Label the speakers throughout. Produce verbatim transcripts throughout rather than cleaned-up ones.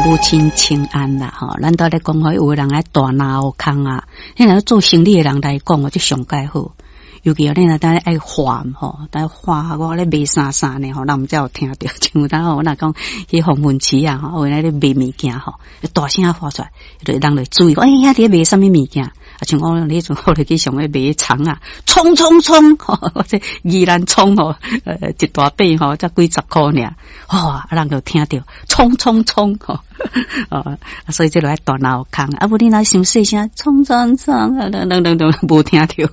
Speaker 1: 母親請安啦，吼，咱都咧講吼，有的人愛大腦空啊，彼若做生理的人來講哦，這上蓋好。尤其哦，你若當愛畫吼，當畫我咧賣啥啥呢吼，人毋知有聽著。像有當吼，我若講去黃昏市啊，吼，有咧賣物件吼，大聲喊出來，就人就注意，欸，遐佇咧賣啥物物件？啊，像我彼陣我就去上咧賣蔥啊，蔥蔥蔥，或者宜蘭蔥吼，呃，一大把吼，才幾十箍爾，哇，啊，人就聽著，衝衝衝，吼，哦，所以這就愛大腦空，啊，無你若傷細聲，衝衝衝，啊，等等等，無聽著，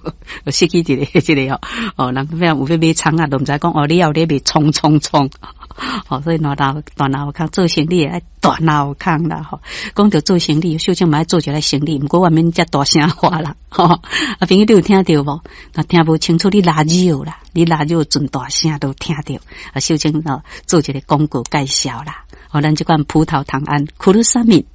Speaker 1: 失去一个這个哦，哦，人欲有欲買蔥啊，都毋知講哦，你有咧賣衝衝衝，哦，所以大腦大腦空做生理愛大腦空啦，吼，講著做生理，小靜嘛愛做一个生理，毋過我免遮大聲話啦，吼，啊，朋友你有聽著無？若聽無清楚，你拉尿啦，你拉尿盡大聲都聽著。啊，小靜哦，做一个廣告介紹啦。哦，咱這款葡萄糖胺苦魯沙米，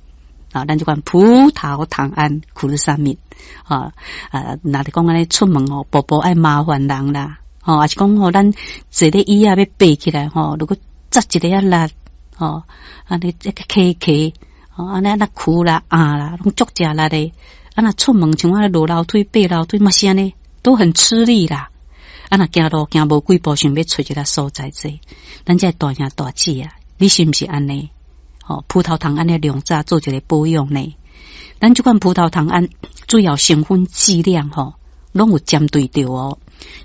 Speaker 1: 啊，咱這款葡萄糖胺苦魯沙米，啊啊，若是講按呢出門哦，步步愛麻煩人啦，吼，抑是講吼，咱坐咧椅仔欲爬起來吼，如果扎一个仔力，吼，按呢這個磕磕，吼，按呢按呢跍啦、壓啦，攏足食力的。啊，若出門像我落樓梯、爬樓梯嘛是按呢，都很吃力啦。啊，若行路行無幾步，想欲揣一个所在坐，咱這大兄大姊啊，你是毋是按呢？吼，葡萄糖胺的量早做一个保養呢？咱這款葡萄糖胺主要成分劑量吼，攏有針對著哦。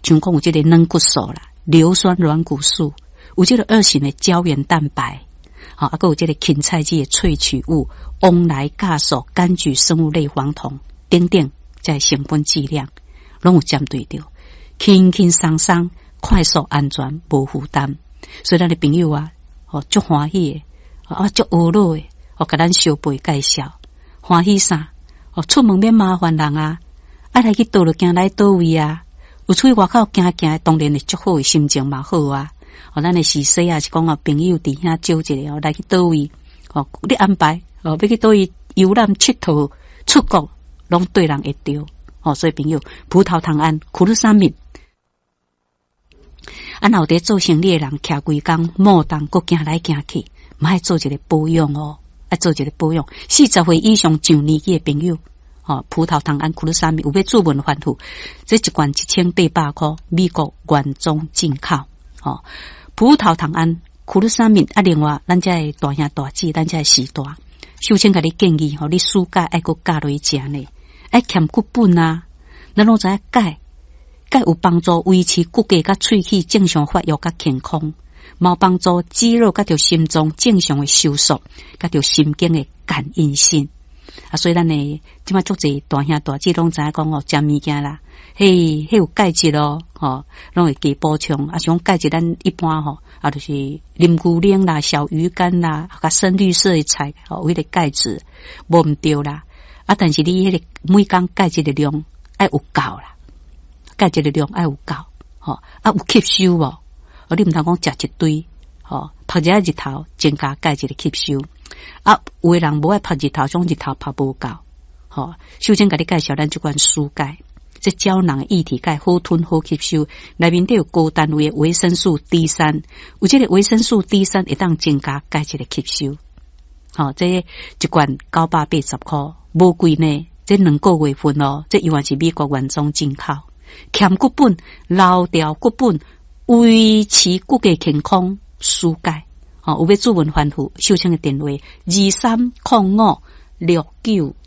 Speaker 1: 像講有這個軟骨素啦、硫酸軟骨素，有這個二型的膠原蛋白，吼，啊，閣有這個芹菜籽的萃取物、王來鉀素、柑橘生物類黃酮等等，這成分劑量攏有針對著，輕輕鬆鬆、快速、安全、無負擔。所以咱的朋友啊，吼，足歡喜的，啊，足懊惱的，哦，共咱相背介紹，歡喜啥？哦，出門免麻煩人啊，啊來去佗落行來佗位啊，有出去外口行行，當然會足好的心情嘛好啊。哦，咱的時勢啊，是講哦，朋友佇遐招一下哦，來去佗位哦，你安排哦，欲去佗位遊覽、𨑨迌、出國，攏對人會著哦。所以朋友，葡萄糖胺、苦魯沙米，啊，若有佇做生理的人，徛規工莫動，閣行來行去，嘛愛做一个保養哦，愛做一个保養。四十歲以上上年紀的朋友，哦，葡萄糖胺、苦魯沙米有欲自問反覆，這一罐一千八百箍，美國原裝進口，哦。葡萄糖胺、苦魯沙米啊，另外咱這的大兄大姊，咱這的時代，秀清共你建議吼，你暑假愛閣加落去食呢，愛添骨本啊，咱攏知影鈣，鈣有幫助維持骨骼佮喙齒正常發育佮健康，嘛有幫助肌肉佮著心臟正常的收縮，佮著神經的感應性。啊，所以咱的這馬足濟大兄大姊攏知影講哦，食物件啦，嘿，彼有鈣質咯，吼，攏會加補充。啊，像鈣質咱一般吼，啊，就是啉牛奶啦、小魚乾啦、較深綠色的菜，吼，有彼個鈣質無毋對啦。啊，但是你彼個每工鈣質的量愛有夠啦，鈣質的量愛有夠，吼，啊有吸收無？哦，你毋通講食一堆，吼，曝一下日頭增加鈣質的吸收。啊，有的人無愛曝日頭，總日頭曝無夠，吼。首先共你介紹咱這款舒鈣，這膠囊的液體鈣好吞好吸收，內面底有高單位的維生素 D 三，有這個維生素 D 三會當增加鈣質的吸收。吼，這一罐九百八十箍，無貴呢。這兩個月份哦，這猶原是美國原裝進口，添骨本、留調骨本，維持骨骼健康，舒鈣。吼，有欲諮詢反覆，秀清的電話二三空五六九。